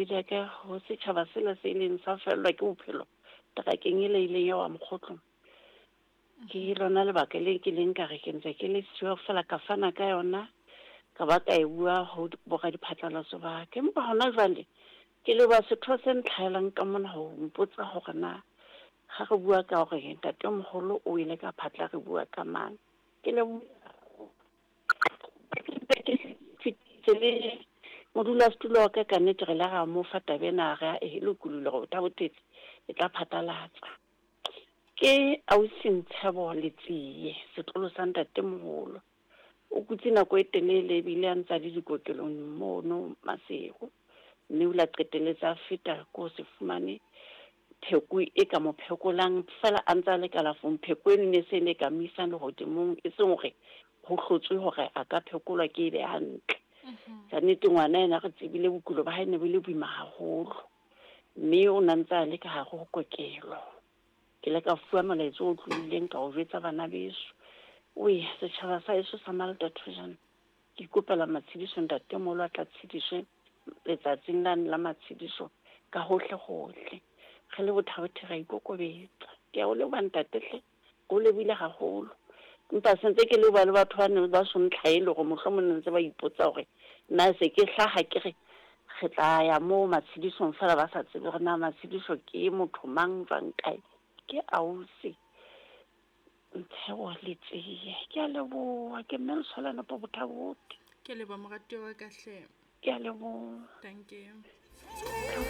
Ya ka ho setjhaba sela se ileng sa fellwa ke bophelo terakeng ela e ileng ya wa mokgotlong. Ke lona lebaka le ke leng ka re ke ntse ke le siyo fela ka fana ka yona ka ba ka e bua ho boradiphatlalatso ba ka. Empa hona jwale ke leboha setho se ntlhahelang ka mona ho mpotsa hore na ga re bua ka hore ntatemoholo o ile ka phatla re bua ka mang. Ke leboha ke le modulasetulo wa ka ka nnete re ile ra mo fa taba ena re a e lokolohile gore Thabo-Thetsi e tla phatlalatsa. Ke ausi Ntshebo Letsie, setlolo sa ntatemoholo. O kutse nako e telele ebile a ntse a le dikokelong mono Maseru, mme o ile a qetelletse a feta ko se fumane pheko e ka mo phekolang fela a ntse a le kalafong. Pheko eno ne se ne ka mo isang lehodimong, e seng hore ho hlotswe hore a ka phekolwa ke e be hantle. Ka nnete ngwana ena re tsebile bokulo ba hae ne bo le boima haholo, mme o na ntse a le ka hare ho kokelo. Ke ile ka fuwa molaetsa o tlohileng ka o jwetsa bana beso. Oe, setjhaba sa heso sa Malta Thojane, ke ikopela matshediso ntatemoholo a tla tshediswe letsatsing lane la matshediso ka hohle hohle. Re le Bothabothe ra ikokobetsa. Ke a o leboha ntate hle, ke o lebohile haholo. Empa sentse ke leboha le batho ba neng ba so ntlhaele hore mohlomong ne ntse ba ipotsa hore na se ke hlaha ke re re tla ya moo matshedisong fela ba sa tsebe hore na matshediso ke motho mang jwang kae. Ke ausi Ntshebo Letsie. Ke a leboha, ke mme Ntsholwane po Bothabothe. Ke a leboha moratuwa wa ka hle. Ke a leboha. Thank you.